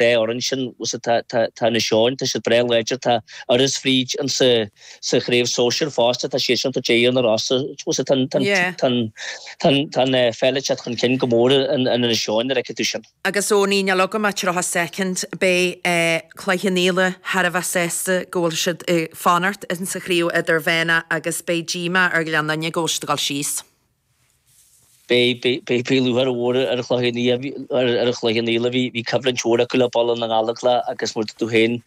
dá fhoireann sin, tá tá Inis Eoghain, tá siad breá láidir, tá Iorras fríd an sa sa chraobh sóisir fosta, tá siad sin tá deireadh na rása, tá an tá an tá an pheil ag teacht chun cinn go mór in Inis Eoghain, nuair a fheiceann tú sin. Agus Owenie, níl agam ach 30 soicind, beidh Cloich Cheann Fhaola thar a bheith sásta go bhfuil siad ag fanacht insa chraobh idirmheánach agus beidh díomá ar Ghleann Fhinne go bhfuil siad ag dul síos. Beidh, beidh, beidh lúcháir mhór ar Chloich ar Chloich Cheann Fhaola, bhí, bhí coimhlint mhór acu le Baile na nGallóglach agus mar a dúirt tú féin,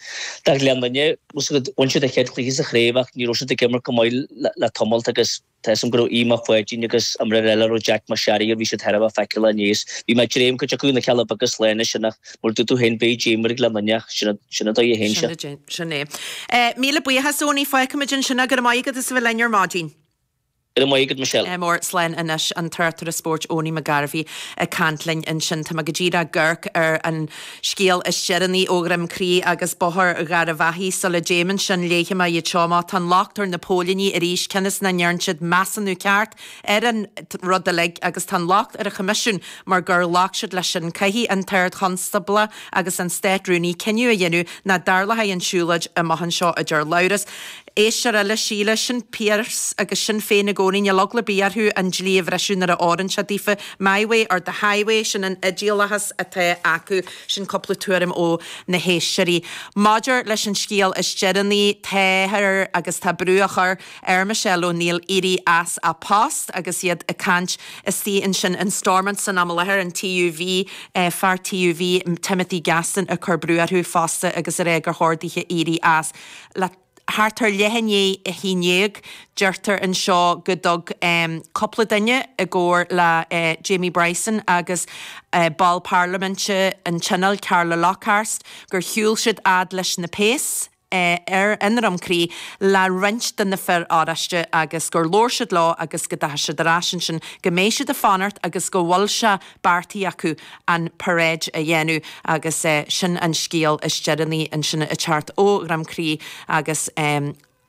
do Ghleann Fhinne, bhain siad a chéad chluiche sa chraobh ach ní raibh siad ag imirt go maith le tamalt agus Tá 'fhios a'm go raibh Aodh Mac Pháidín agus an mhná eile a raibh Jack Mac Searraigh air, bhí siad thar a bheith feiceálach inné is bhí mé ag dréim cuid acu na Cealla Beaga slána sin ach mar a dúirt tú féin beidh díoma ar Ghleann Fhinne ach sin sin an dóigh a théann sé. Sin é. Míle buíochas Owenie, fágfaimid ansin é, go raibh maith agat as a bheith linn ar maidin. Go raibh maith agat Michelle. Mór, slán anois an tráchtaire spóirt Owenie McGarvey ag caint linn ansin. Tá mé go díreach ag amharc ar an scéal is deireanaí ó Dhroim Crí agus Bóthar Gharbhachaidh. Sula dtéim ansin, léifidh mé iad seo amach. Tá an locht ar na póilíní arís, cionn is nach ndearn siad measúnú ceart ar an rud uilig agus tá an locht ar an Choimisiún mar gur ghlac siad leis sin. Caithfidh an tArd-Chonstábla agus an Stát-Rúnaí cinneadh a dhéanamh nach dtarlóidh an tsiúlóid amach anseo, a deir Labhrás. Éisteoir eile, Síle, sin Pearse agus Sinn Féin i gcónaí, níl eagla ar bith orthu an dlí a bhriseadh nuair a oireann sé daofa. My way or the highway, sin an idéalachas atá acu. Sin cúpla tuairim ó na héisteoirí. Maidir leis an scéal is deireanaí, táthar agus tá brú á chur ar Michelle O'Neill éirí as a post agus iad ag caint istigh ansin in Stormont san am i láthair, an TUV, fear TUV, Timothy Gaston ag cur brú orthu fosta agus ag rá gur chóir dithe éirí as. Le thart ar leath i ndiaidh a haon dhéag, deirtear anseo go dtug cúpla duine i gcomhar le Jamie Bryson agus ball parlaiminte an Tionóil, Carla Lockhart, gur shiúil siad fhad leis na péas ar i nDroim Crí le roinnt de na fir oráiste agus gur labhair siad leo agus go dteachaigh siad ar ais ansin, go mbeidh siad ag fanacht agus go bhfuil sé beartaithe acu an paráid a dhéanamh agus sin an scéal is deireanaí ansin ag teacht ó Dhroim Crí agus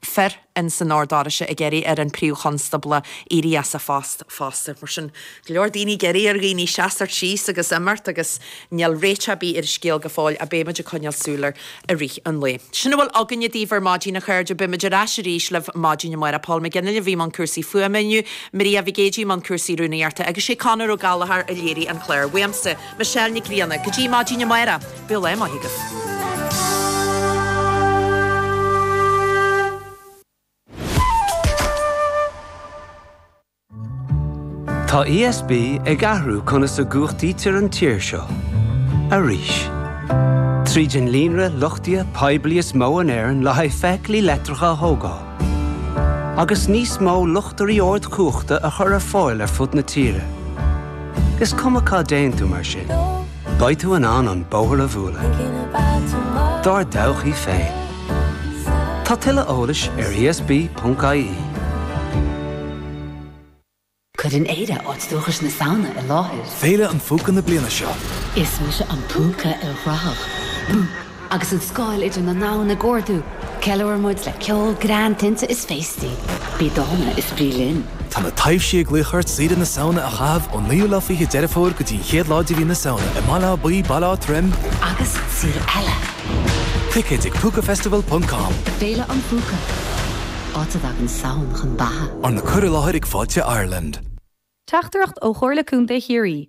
fir ins an Ord Oráiste ag iarraidh ar an Príomh-Chonstábla éirí as a phost fosta. Mar sin, go leor daoine ag iarraidh ar dhaoine seasamh síos agus imeacht agus níl réiteach ar bith ar an scéal go fóill ach beidh muid ag coinneáil súil air i rith an lae. Sin a bhfuil againne daoibh ar maidin, a chairde. Beidh muid ar ais arís libh maidin amárach. Paul McGinley a bhí i mbun cúrsaí fuaime inniu, Maria Mhic Géidigh i mbun cúrsaí rúnaíochta agus sé Conor Ó Gallchóir a léirigh an clár. Uaimse, Michelle Nic Grianna, go dtí maidin amárach, bíodh lá maith agaibh. Tá ESB ag athrú conas a gcumhachtaítear an tír seo. Arís. Tríd an líonra luchtaithe poiblí is mó in Éirinn le haghaidh feithiclí leictreacha a thógáil. Agus níos mó luchtairí ardchumhachta a chur ar fáil ar fud na tíre. Is cuma cá dtéann tú mar sin, beidh tú in ann an bóthar a bhualadh. Dár dtodhchaí féin. Tá tuilleadh eolais ar esb.ie. Cuireann Éire áit dúchais na Samhna i láthair. Féile an Phúca na bliana seo. Is mise an púca ilchruthach. Bú! Agus an scáil idir na ndomhan ag ardú, ceiliúrann muid le ceol, greann, tinte is féastaí. Bí dána is bí linn. Tá na taibhsí ag glaoch ort saoire na Samhna a chaitheamh ón naoú lá fichead Deireadh Fómhair go dtí an chéad lá de mhí na Samhna i mBaile Átha Buí, Baile Átha Troim, Agus saol eile. Ticéid ag púcafestival ponc com. Féile an Phúca. Áit a dtagann Samhain chun beatha. Arna cur i láthair ag Fáilte Ireland. Teachtaireacht ó Chomhairle Contae Chiarraí.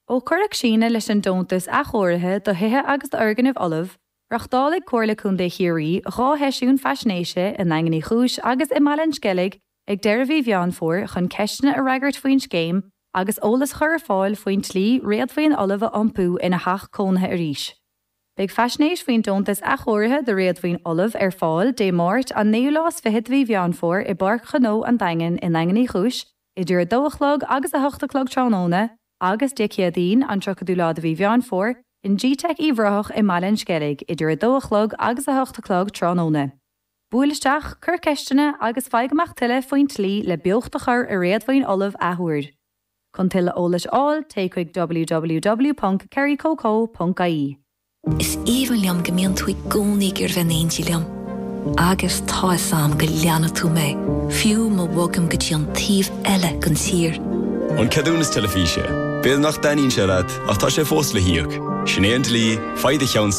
Ó cuireadh síneadh leis an Deontas Athchóirithe do Thithe agus d'Fhoirgnimh Fholamh, reachtálfaidh Comhairle Contae Chiarraí 2 sheisiún faisnéise i nDaingean Uí Chúis agus i mBaile an Sceilg ag deireadh mhí Mheán Fómhair chun ceisteanna a fhreagairt faoin scéim agus eolas a chur ar fáil faoin tslí réadmhaoin fholamh a iompú ina theach cónaithe arís. Beidh faisnéis faoin Deontas Athchóirithe do Réadmhaoin Fholamh ar fáil Dé Máirt, an naoú lá is fichead de mhí Mheán Fómhair i bPáirc Ghnó an Daingin i nDaingean Uí Chúis idir 2 a chlog agus 8 a chlog tráthnóna agus Dé Céadaoin, an 30ú lá de mhí Mheán Fómhair, in gteic Uíbh Ráthach i mBaile an Sceilg idir 2 a chlog agus 8 a chlog tráthnóna. Buail isteach, cuir ceisteanna agus faigh amach tuilleadh faoin tslí le beocht a chur i réadmhaoin fholamh athuair. Chun tuilleadh eolais a fháil, téigh chuig www.kerrycoco.ie. Is aoibhinn liom go mbíonn tú i gcónaí ag iarraidh bheith in éindí liom. Agus tá 'fhios a'm go leanfaidh tú mé, fiú má bhogaim go dtí an taobh eile den tír. An ceadúnas teilifíse. B'fhéidir nach dtaitníonn sé leat, ach tá sé fós le híoc. Sin é an dlí, faigh do cheann.